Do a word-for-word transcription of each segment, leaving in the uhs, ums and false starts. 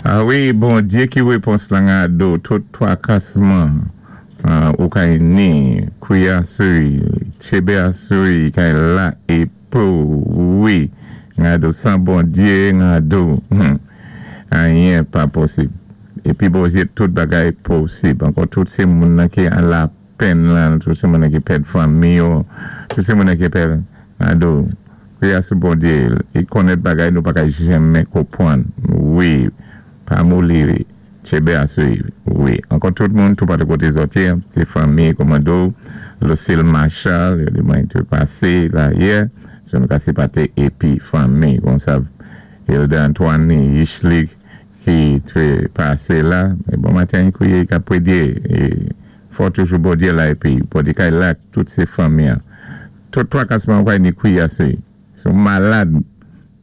A wi, Bondyé ki wépons lan gado, tout twakasman ou kay ni, kwié asou, tjébé asou, kay la épou, wi, gado, san Bondyé, gado, anyen pa posib. Épi Bondyé, tout bagay posib. Ankò tout sé moun ki an lapenn lan, tout sé moun ki pèd fanmi yo, tout sé moun ki pèd gado, kwié asou Bondyé, i konnèt bagay nou pa kay janmen konpwann. Wi, pa moli, tjébé asou, wi. Ankò tout moun, tout patou koté zòt yé, sé fanmi, kòmando, Lucille Marshall, yo di mwen té pasé la yè, so nou ka sipaté épi fanmi, konsa, Hilda Antoine, Ishli, ki té pasé la, é bon maten kwié ka pwédyé, é fò toujou Bondyé la épi, Bondyé kay la, tout sé fanmi an. Tout twakasman kay ni kwié asou, si ou malad,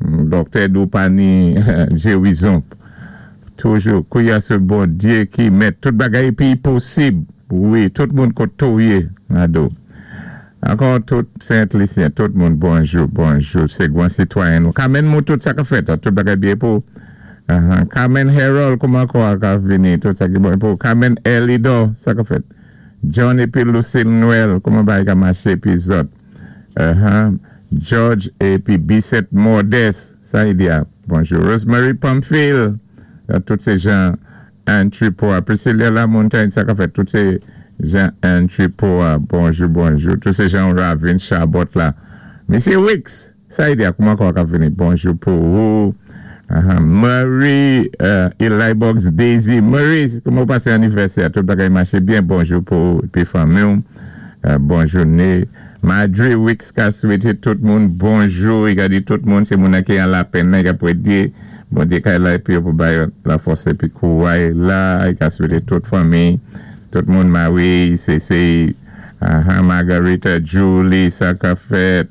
dòktè di ou pa ni gérizon. Toujou, kwié asou Bondyé ki mèt tout bagay épi posib. Wi, tout moun koté ou yé, gado. Ankò tout Sent-Lisyen, tout moun, bonjou, bonjou, sé gwan sitwayen nou. Carmen mou tout sa ka fèt, tout bagay byen pou. Carmen Harold, kouman kwa ka vini, tout sa ki bon pou. Carmen Elido, sa ka fèt. John épi Lucille Noël, kouman bagay ka maché épi zòt. George épi Bissette Modeste, sa y di a, bonjou. Rosemary Pamphile, tout sé jan Antripoa. Priscilla Lamontagne, sa ka fèt, tout sé jan Antripoa, bonjou, bonjou. Tout sé jan Ravin Chabot la. Misye Wicks, sa y di a, kouman kwa ka vini, bonjou pou ou. Marie, Eli Box, Daisy, Marie, kouman pasé anivèsè, tout bagay maché byen, bonjou pou épi fanmi ou. Bonjou né. Madre Wicks ka swété tout moun bonjou, i ka di tout moun, sé moun ki an lapenn nan, i ka pwédyé, Bondyé kay la épi yo pou bay la fòs épi kouway la, i ka swété tout fanmi, tout moun Marie, Cece, Margarita, Julie, sa ka fèt,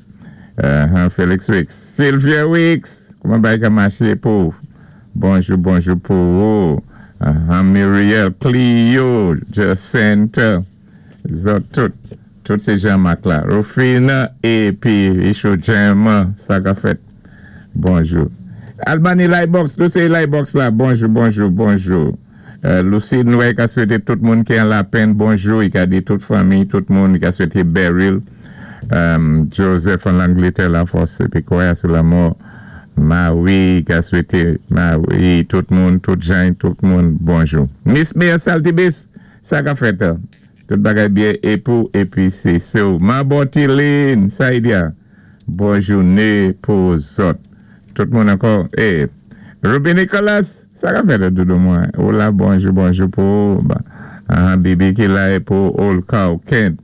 Felix Wicks, Sylvia Wicks, kouman bagay ka maché pou, bonjou, bonjou pou ou, Muriel, Clio, Jacinta, zòt tout, tout sé Jean-Marc la, Rufina, épi Isho Gemma, sa ka fèt, bonjou. Albany Lightbox, tout sé Lightbox la, bonjou, bonjou, bonjou. Lucie Noé ka swété tout moun ki an lapenn, bonjou, i ka di tout fanmi, tout moun, i ka swété Beryl, Joseph an Langletè la fòs, épi kwè sou lamò, Marie, ka swété, Marie, tout moun, tout jan, tout moun, bonjou. Miss Mia Saltibis, sa ka fèt, tout bagay byen, épou, épi sé sou. Ma Botiline, sa y di a, bonjou né pou zòt. Tout moun ankò, eh, Ruby Nicolas, sa ka fèt doudou mwen. Ou la, bonjou, bonjou pou, Bibi ki la é pou Old Cow, Kent,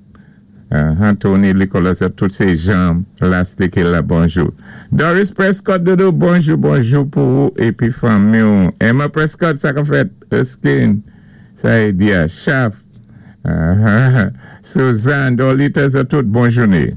Anthony Nicolas, tout sé jan, lasté ki la, bonjou. Doris Prescott, doudou, bonjou, bonjou pou ou, épi fanmi ou. Emma Prescott, sa ka fèt, Erskine, sa y di a, Chaf, Suzanne, Dolita, sa tout, bonjou né.